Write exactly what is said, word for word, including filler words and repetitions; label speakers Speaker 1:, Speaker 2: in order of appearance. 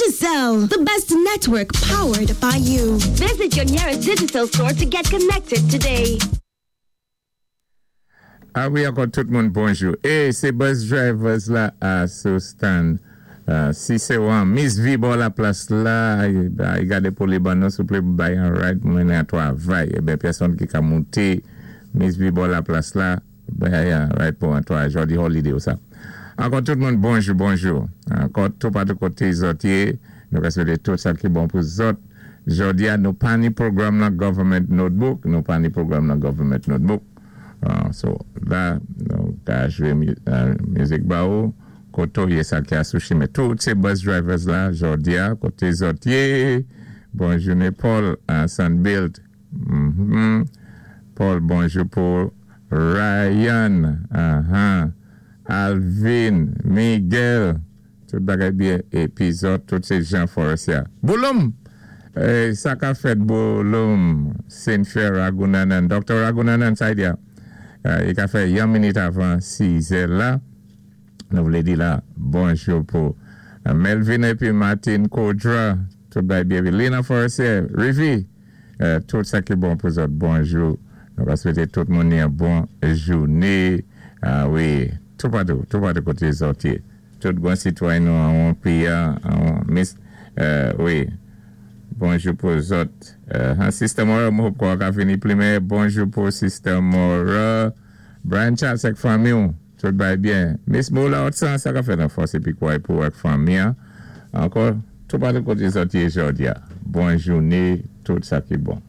Speaker 1: Digicel, the best network powered by you. Visit your nearest Digicel store to get connected today.
Speaker 2: A wi, ankò tout moun bonjou. É sé bus drivers la a sou stand. Uh, si sé wan Miss V bò la plas la, i gadé pou li ban nou souplé bay an ride mwen an twavay. É ben pèsonn ki ka monté Miss V bò la plas la, bay an ride pou an twavay. Jòdi holiday ou sa. Ankò tout moun bonjou, bonjou. Ankò tout patou koté zòt yé, nou ka swété tout sa ki bon pou zòt. Jòdi a nou pa ni pwogram nan Government Notebook, nou pa ni pwogram nan Government Notebook. Uh, so la, nou ka jwé uh, mizik ba ou, koto yé sa ki a sou chimen. Tout sé bus drivers la, jòdi a, koté zòt yé. Bonjouné Paul, uh, Sunbuild. Mm -hmm. Paul, bonjou pou Ryan, uh -huh. Alvin, Miguel, tout bagay byen, épi zòt, tout sé Jean Forestier. Bouloum! Eh, sa ka fèt Bouloum, Saint-Fer Ragunanan, Dr. Ragunanan, sa y di a. Uh, i ka fè yon minit avan sizè la. Nou vlé di la, bonjou pou uh, Melvin épi Martin Kodra, tout bagay byen. Lina Forestier, Rivi, uh, tout sa ki bon pou zòt, bonjou. Nou va swété tout moun yon bon jouné. Ah wi, tout patou, tout patou koté zòt yé. Tout bon sitwayen nou an péyi, an miss, uh, wi, bonjou pou zòt. Uh, Sister Mora, mwen hope kwa ka fini plimen. Bonjou pou Sister Mora. Brian Charles ak fanmi ou, tout bay byen. Miss Moula Otsan, sa ka fè nan fòs épi kwa pou ak fanmi an. Ankò, tout patou koté zòt yé jòdi a. Bon jouné, tout sa ki bon.